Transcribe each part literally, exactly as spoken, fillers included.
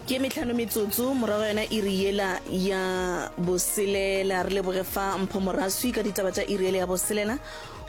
Ke mehlano metsotso morago yona iri yela ya boselela. Re leboge fa Mpho Moraswi ka ditaba tša iri yela ya boselela.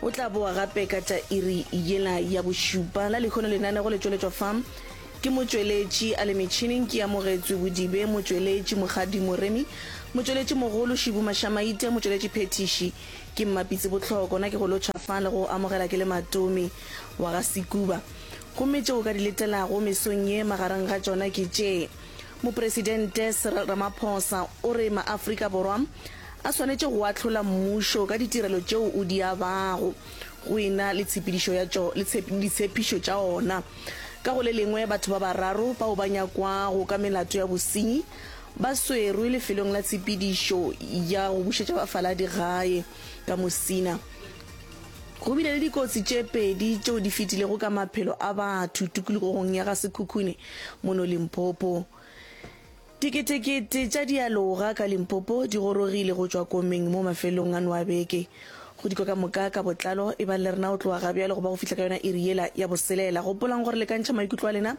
O tla boa gape ka tša iri yela ya bošupa. La lehono lenanego le tšweletšwa fa ke motšweletši a le metšhineng ke Amogetswe Bodibe, motšweletši Mokgadi Moremi, motšweletši mogolo Šibu Mašamaite, motšweletši phethiši ke Mmapitsi Bohloko. Na ke go lotšha fa le go amogela ke le Matome wa ga Sekuba. Gomme tšeo o ka di letelago mesong ye magareng ga tšona ke tše, Mopresidente Cyril Ramaphosa o re maAfrika Borwa a swanetše go ahlola mmušo ka ditirelo tšeo o di abago go e na le tshepedišo ya tšo le ditshepišo tša ona. Ka go le lengwe, batho ba bararo bao ba nyakwago ka melato ya bosenyi ba swerwe lefelong la tshepedišo ya go bušetša bafaladi gae ka Musina. Go bile le dikotsi tše pedi tšeo di fetilego ka maphelo a batho tikologong ya Ga-Sekhukhune mono Limpopo. Diketekete tša dialoga ka Limpopo di gorogile go tšwa komeng mo mafelong ano a beke. Go dikwa ka moka ka botlalo, ebang le rena go tloga ga bjale go ba go fihla ka yona iri yela ya boselela. Gopolang gore le ka ntšha maikutlo a lena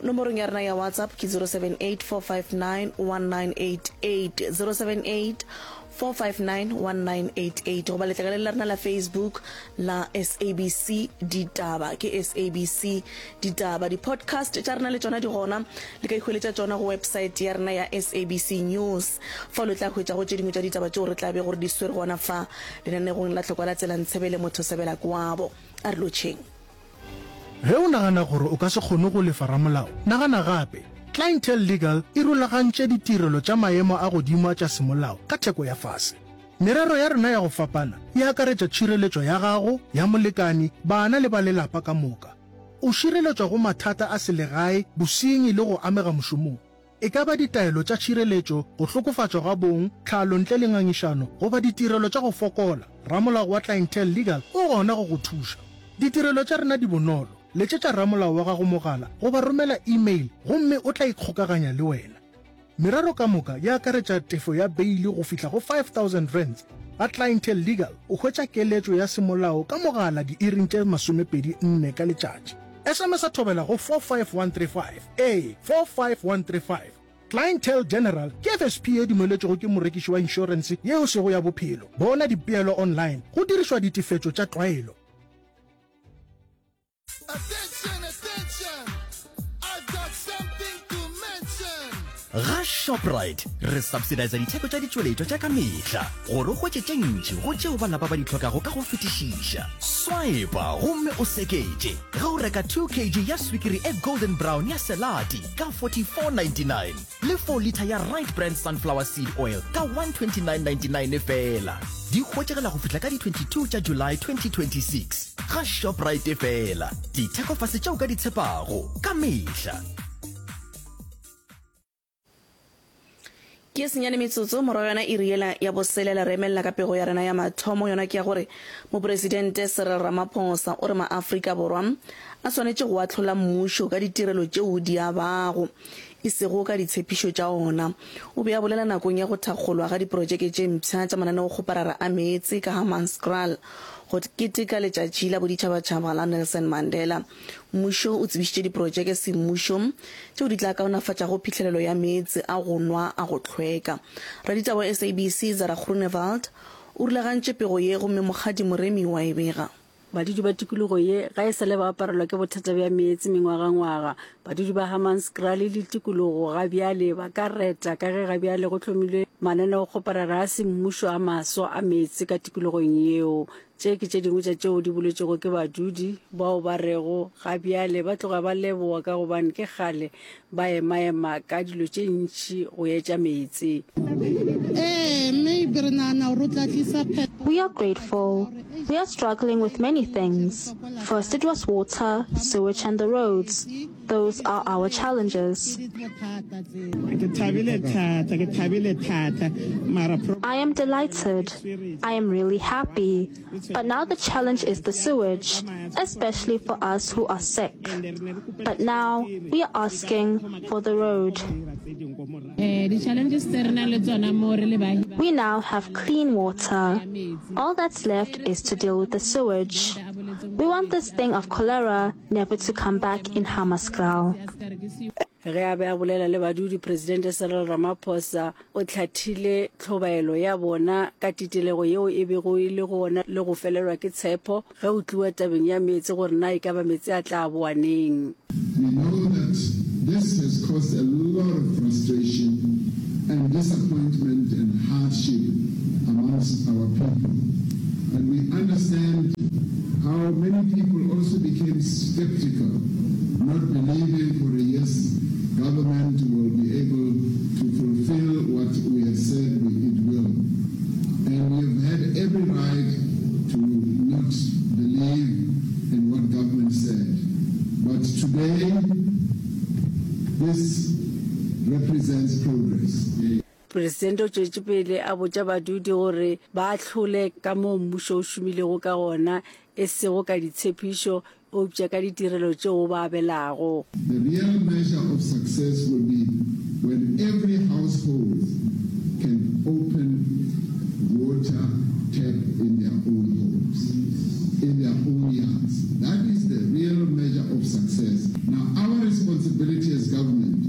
nomorong ya rena ya WhatsApp ke zero seven eight four five nine one nine eight eight, zero seven eight four five nine one nine eight eight, goba letlakaleng la rena la Facebook la S A B C Ditaba, ke S A B C Ditaba. Di-podcast tša rena le tšona di gona, le ka ikhweletša tšona go website ya rena ya S A B C News. Fao le tla hwetšago tše dingwe tša ditaba tšeo re tla bego re di swere gona fa lenanegong la Tlhokwa la Tsela Ntshebele Motho Sebela Kwabo. A re lotšheng. Ge o nagana gore o ka se kgone go lefa ramolao, nagana gape. Clientele Legal e rulagantše ditirelo tša maemo a godimo a tša semolao ka theko ya fase. Merero ya rena ya go fapana e akaretša tšhireletšo ya gago, ya molekani, bana le ba lelapa ka moka. O šireletšwa go mathata a selegae, bosenyi le go amega mošomong. E ka ba ditaelo tša tšhireletšo, go hlokofatšwa ga bong, tlhalo ntle le ngangišano, goba ditirelo tša go fokola, ramolao wa Clientele Legal o gona go go thuša. Ditirelo tša rena di bonolo. Letšetša ramolao wa gago mogala goba romela email gomme o tla ikgokaganya le wena. Merero ka moka e akaretša tefo ya beili go fihla go five thousand rands. Ga Clientele Legal o hwetša keletšo ya semolao ka mogala diiring tše masomepedi nne ka letšatši. S M S a thobela go four five one three five, ee, four five one three five. Clientele General ke F S P ye dumeletšwego ke morekiši wa inšorense yeo sego ya bophelo. Bona dipeelo online go dirišwa ditefetšo tša tlwaelo. Attention, attention, I've got something to mention. Ga Shoprite re subsidiza ditheko tša ditšweletšwa tša ka mehla gore o hwetše tše ntši go tšeo ba lapa ba di hlokago ka go fetišiša. Swipa gomme o seketše ge o reka two kg ya swikiri e golden brown ya Selati ka forty-four ninety-nine le four litre ya Right Brand sunflower seed oil ka one twenty-nine ninety-nine feela. Di hwetšagala go fihla ka di twenty-two tša July twenty twenty-six. Ga Shoprite feela, dithekofase tšeo ka di tshepago ka mehla. Ke senyane metsotso morago yona iri yela ya boselela re emelela ka pego ya rena ya mathomo, yona ke ya gore Mopresidente Cyril Ramaphosa o re maAfrika Borwa a swanetše go ahlola mmušo ka ditirelo tšeo di abago, e sego ka ditshepišo tša ona. O be a bolela nakong ya go thakgolwa ga diprojeke tše mpsha tša mananeokgoparara a meetse ka Hammanskraal go keteka letšatši la boditšhabatšhaba la Nelson Mandela. Mmušo o tsebišitše diprojeke semmušo tšeo di tla kaonafatšago phihlelelo ya meetse a go nwa a go hlweka. Raditaba wa S A B C Zara Groenewald o rulagantše pego ye gomme Mokgadi Moremi wa e bega. Badudi ba tikologo ye ga e sa le ba aparelwa ke bothata bja meetse mengwagangwaga. Badudi ba Hammanskraal le tikologo ga bjale ba ka reta ka ge ga bjale go hlomilwe mananeokgoparara a semmušo a maswa a meetse ka tikologong yeo. Tše ke tše dingwe tša tšeo di boletšego ke badudi bao ba rego ga bjale ba tloga ba leboga ka gobane ke kgale ba emaema ka dilo tše ntši go etša meetse. Ee, maybe re nagana gore o tla tlisa phetogo. We are grateful. We are struggling with many things. First it was water, sewage and the roads. Those are our challenges. Ke thabile thata, ke thabile thata, mara pro- I am delighted. I am really happy. But now the challenge is the sewage, especially for us who are sick. But now we are asking for the road. Eh, di-challenges tse re nang le tsona mo re le baahi ba- We now have clean water. All that's left is to deal with the sewage. We want this thing of cholera never to come back in Hammanskraal. Ge a be a bolela le badudi, Presidente Cyril Ramaphosa o hlathile tlhobaelo ya bona ka titelego yeo e bego e le gona le go felelwa ke tshepo ge go tliwa tabeng ya meetse gore na e ka ba meetse a tla boa neng. We know that this has caused a lot of frustration and disappointment and hardship amongst our people. And we understand how many people also became skeptical, not believing for a yes government will be able to fulfill what we have said we, it will. And we have had every right to not believe in what government said. But today, this represents progress. Presidente o tšwetše pele a botša badudi gore ba ahlole ka moo mmušo o šomilego ka gona, e sego ka ditshepišo eupša ka ditirelo tšeo o ba abelago. The real measure of success will be when every household can open water tap in their own homes, in their own yards. That is the real measure of success. Now, our responsibility as government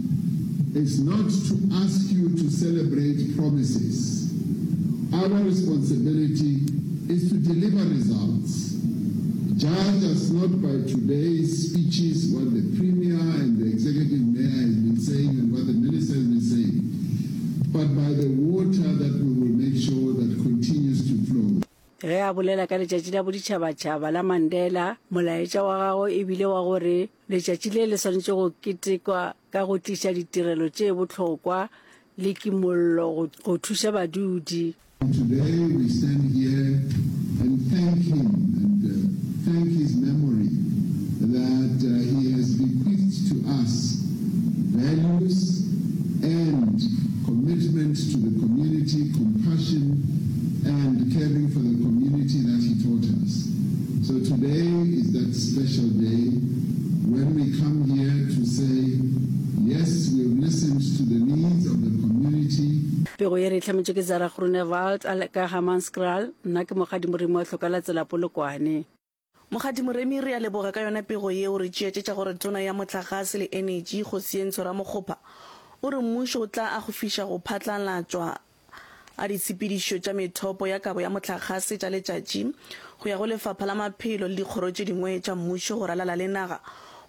is not to ask you to celebrate promises. Our responsibility is to deliver results. Judge us not by today's speeches, what the Premier and the Executive Mayor has been saying and what the Minister has been saying, but by the water that we will make sure that continues to flow. Ge a bolela ka Letšatši la Boditšhabatšhaba la Mandela, molaetša wa gagwe e bile wa gore letšatši le le swanetše go ketekwa ka go tliša ditirelo tše bohlokwa le kimollo go thuša badudi. Today we stand here and thank him and thank his memory that he has bequeathed to us values and commitment to the community, compassion and caring for the community that he taught us. So today is that special day when we come here to say, yes, we have listened to the needs of the community. Pego ye re e hlametšwe ke Zara Groenewald a le ka Hammanskraal. Nna ke Mokgadi Moremi wa Hloka la Tsela Polokwane. Mokgadi Moremi, re a leboga ka yona pego yeo. Re tšeetšetša gore Tona ya Mohlagase le Enetši, Kgosientsho Ramokgopa, o re mmušo o tla akgofiša go phatlalatšwa a ditshepedišo tša methopo ya kabo ya mohlagase tša letšatši go ya go Lefapha la Maphelo le dikgoro tše dingwe tša mmušo go ralala le naga.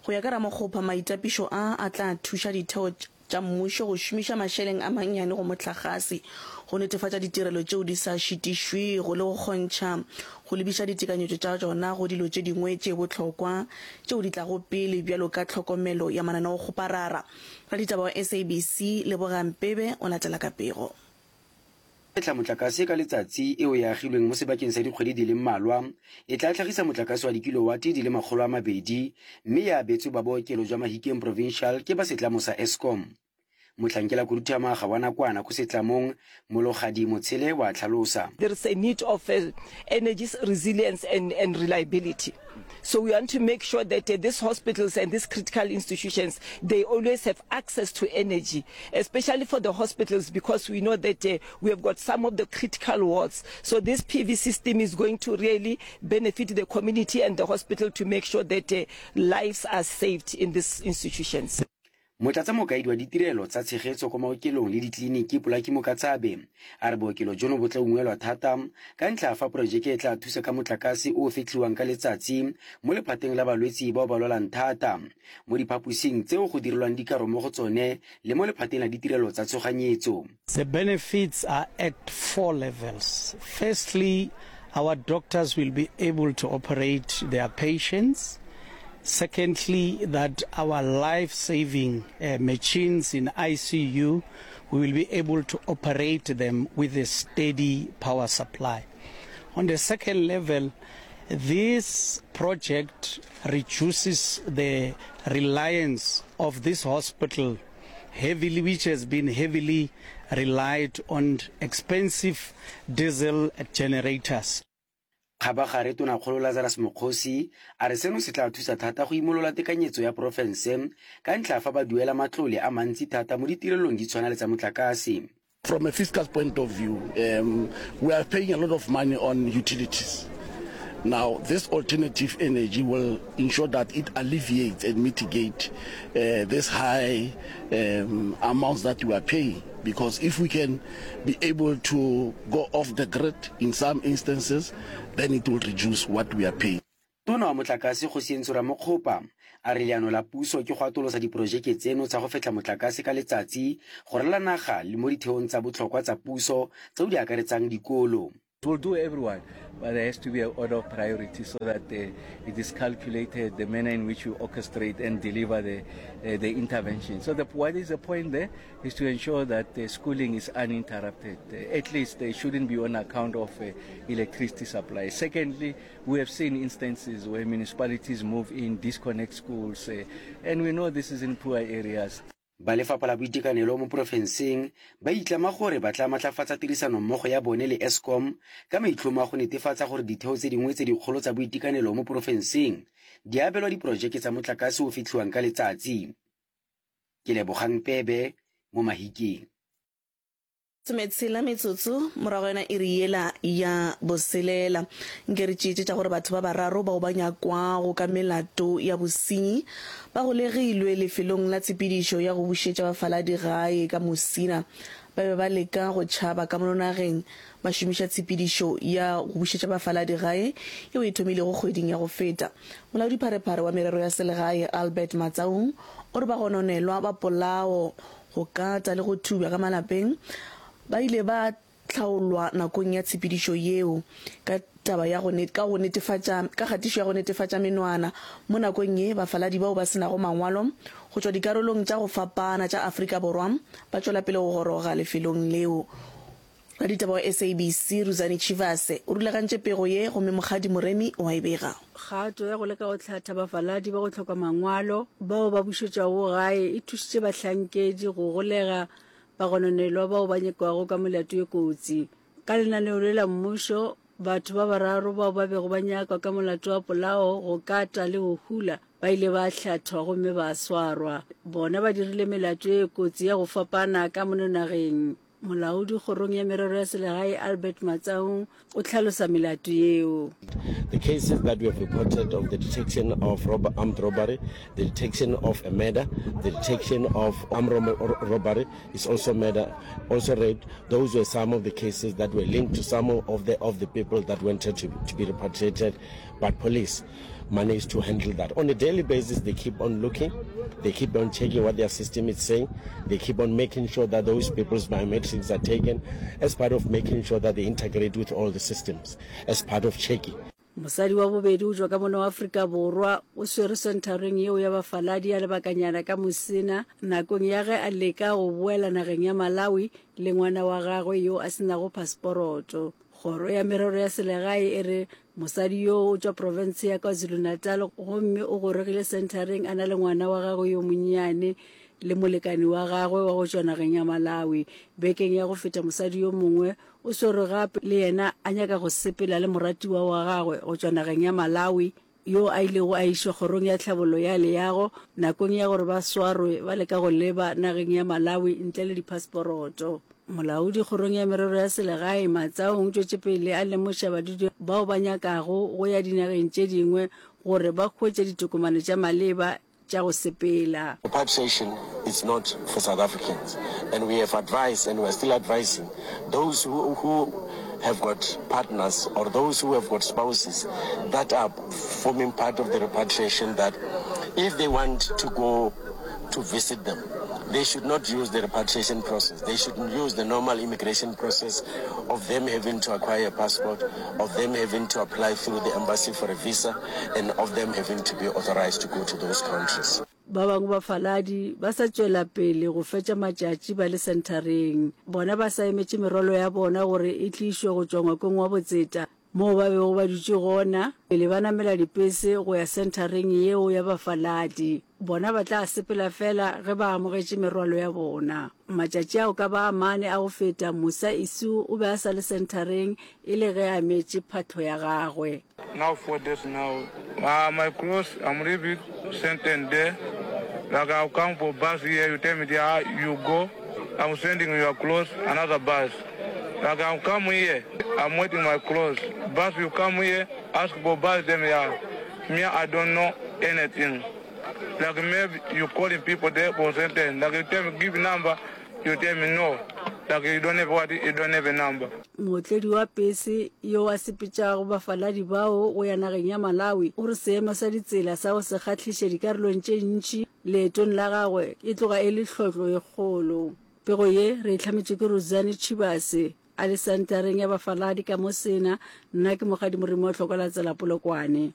Go ya ka Ramokgopa, maitapišo a a tla thuša ditheo tša mmušo go šomiša mašeleng a mannyane go mohlagase go netefatša ditirelo tšeo di sa šitišwego le go kgontšha go lebiša ditekanyetšo tša tšona go dilo tše dingwe tše bohlokwa tšeo di tlago pele bjalo ka tlhokomelo ya mananeokgoparara. Raditaba wa S A B C Lebogang Pebe o latela ka pego. Fehla motlakase ka letsatsi eo e agilweng mo sebakeng sa dikgwedi di le mmalwa e tla hlagisa motlakase wa dikilowate di le makgolo a mabedi mme e abetswe ba bookelo jwa Mahikeng Provincial ke ba setlamo sa Eskom. Mohlankela khuduthamaga wa nakwana ko setlamong Mologadi Motshele wa hlalosa. There is a need of energy resilience and, and reliability. So we want to make sure that uh, these hospitals and these critical institutions, they always have access to energy, especially for the hospitals, because we know that uh, we have got some of the critical wards. So this P V system is going to really benefit the community and the hospital to make sure that uh, lives are saved in these institutions. Motlatsamokaedi wa ditirelo tsa tshegetso kwa maokelong le ditleliniki Polaki Mokatsabe a re bookelo jono bo tla ungwelwa thata ka ntlha ya fa porojeke e tla thusa ka motlakase o o fetlhiwang ka letsatsi mo lephateng la balwetsi bao ba lwalang thata mo diphaposing tseo go direlwang dikaro mo go tsone le mo lephateng la ditirelo tsa tshoganyetso. The benefits are at four levels. Firstly, our doctors will be able to operate their patients. Secondly, that our life-saving uh, machines in I C U, we will be able to operate them with a steady power supply. On the second level, this project reduces the reliance of this hospital heavily, which has been heavily relied on expensive diesel generators. Kgabagare Tonakgolo Lazarus Mokgosi a re seno se tla thusa thata go imolola tekanyetso ya porofense ka ntlha fa ba duela matlole a mantsi thata mo ditirelong di tshwana le tsa motlakase. From a fiscal point of view, um, we are paying a lot of money on utilities. Now, this alternative energy will ensure that it alleviates and mitigate uh, this high um, amounts that we are paying. Because if we can be able to go off the grid in some instances, then it will reduce what we are paying. Tona wa Motlakase Kgosientsho Ramokgopa a re leano la puso ke go atolosa diporojeke tseno tsa go fetlha motlakase ka letsatsi go ralala naga le mo ditheong tsa botlhokwa tsa puso tseo di akaretsang dikolo. It will do everyone, but there has to be an order of priority so that uh, it is calculated the manner in which you orchestrate and deliver the, uh, the intervention. So the, what is the point there is to ensure that the schooling is uninterrupted. Uh, at least they shouldn't be on account of uh, electricity supply. Secondly, we have seen instances where municipalities move in, disconnect schools, uh, and we know this is in poor areas. Ba Lefapha la Boitekanelo mo porofenseng ba itlama gore ba tla matlafatsa tirisanommogo ya bone le Eskom ka maitlhomo a go netefatsa gore ditheo tse dingwe tse dikgolo tsa boitekanelo mo porofenseng di abelwa diporojeke tsa motlakase o fetlhiwang ka letsatsi. Ke Lebogang Pebe mo Mahikeng. Sometshela metsotso morago yona iri yela ya boselela. Nke re tšeetše tša gore batho ba bararo bao ba nyakwago ka melato ya bosenyi ba golegilwe lefelong la tshepedišo ya go bušetša bafaladi gae ka Musina. Ba be ba leka go tšhaba ka mono nageng ba šomiša tshepedišo ya go bušetša bafaladi gae yeo e thomilego kgweding ya go feta. Molaodipharephare wa merero ya selegae Albert Matsaung o re bagononelwa ba polao, go kata le go thubja ka malapeng ba ile ba hlaolwa nakong ya tshepedišo yeo ka taba ya go ka go netefatša ka kgatišo ya go netefatša menwana. Mo nakong ye, bafaladi bao ba se nago mangwalo go tšwa dikarolong tša go fapana tša Afrika Borwa ba tšwela pele go goroga lefelong leo. Raditaba wa S A B C Ruzani Tshivhase o rulagantše pego ye gomme Mokgadi Moremi o a e bega. Kgato ya go leka go hlatha bafaladi ba go hloka mangwalo bao ba bušetšwago gae e thušitše bahlankedi go golega bagononelwa bao ba nyakwago ka melato ye kotsi. Ka lenaneo le la mmušo, batho ba bararo bao ba bego ba nyakwa ka molato wa polao, go kata le go hula ba ile ba hlathwa gomme ba swarwa. Bona ba dirile melato ye kotsi ya go fapana ka mono nageng. Molaodi kgorong ya merero ya selegae Albert Matsaung o hlalosa melato yeo. The cases that we have reported of the detection of rob-, armed robbery, the detection of a murder, the detection of armed rom-, robbery is also murder, also rape. Those were some of the cases that were linked to some of the, of the people that wanted to, to be repatriated, but police managed to handle that. On a daily basis, they keep on looking, they keep on checking what their system is saying, they keep on making sure that those people's biometrics are taken as part of making sure that they integrate with all the systems, as part of checking. Mosadi wa bobedi o tšwa ka mono wa Afrika Borwa o swere senthareng yeo ya bafaladi ya lebakanyana ka Musina nakong ya ge a leka go boela nageng ya Malawi le ngwana wa gagwe yo a senago paseporoto. Kgoro ya merero ya selegae e re mosadi yo o tšwa profense ya KwaZulu-Natal gomme o gorogile senthareng a na le ngwana wa gagwe yo monnyane le molekani wa gagwe wa go tšwa nageng ya Malawi. Bekeng ya go feta mosadi yo mongwe o swerwe gape le yena a nyaka go sepela le moratiwa wa gagwe go tšwa nageng ya Malawi yo a ilego a išwa kgorong ya tlhabollo ya leago nakong ya gore ba swarwe ba leka go leba nageng ya Malawi ntle le diphaseporoto. Molaodi kgorong ya merero ya selegae Matsaung o tšwetše pele a lemoša badudi bao ba nyakago go ya dinageng tše dingwe gore ba hwetše ditokomane tša maleba tša go sepela. Repatriation is not for South Africans and we have advised and we are still advising those who, who have got partners or those who have got spouses that are forming part of the repatriation that if they want to go to visit them, they should not use the repatriation process. They should use the normal immigration process of them having to acquire a passport, of them having to apply through the embassy for a visa, and of them having to be authorized to go to those countries. Ba bangwe bafaladi ba sa tšwela pele go fetša matšatši ba le senthareng. Bona ba sa emetše merwalo ya bona gore e tlišwe go tšwa ngwakong wa botseta moo ba bego ba dutše gona pele ba namela dipese go ya senthareng yeo ya bafaladi. Bona ba tla sepela fela ge ba amogetše merwalo ya bona. Matšatši ao ka ba a mane a go feta, Musa Isu o be a sa le senthareng e le ge a emetše phahlo ya gagwe. Now four days now, uh, my clothes, I'm leaving sentence there. Like I'll come for bus here, you tell me there, you go. I'm sending your clothes, another bus. Like I'll come here, I'm waiting my clothes. Bus you come here, Ask for bus them yeah. Me I don't know anything. Like maybe you calling people there for certain. Like you tell me give number, you tell me no. Like you don't have what you don't have a number. Mootledi wa pese yo a sepetšago bafaladi bao go ya nageng ya Malawi o re seemo sa ditsela sa go se kgahliše dikarolong tše ntši leetong la gagwe e tloga e le tlhohlo e kgolo. Pego ye re e hlametšwe ke Rudzani Tshivhase a le sentareng ya bafaladi ka Musina. Nna ke Mokgadi Moremi wa Tlhokwa la Tsela Polokwane.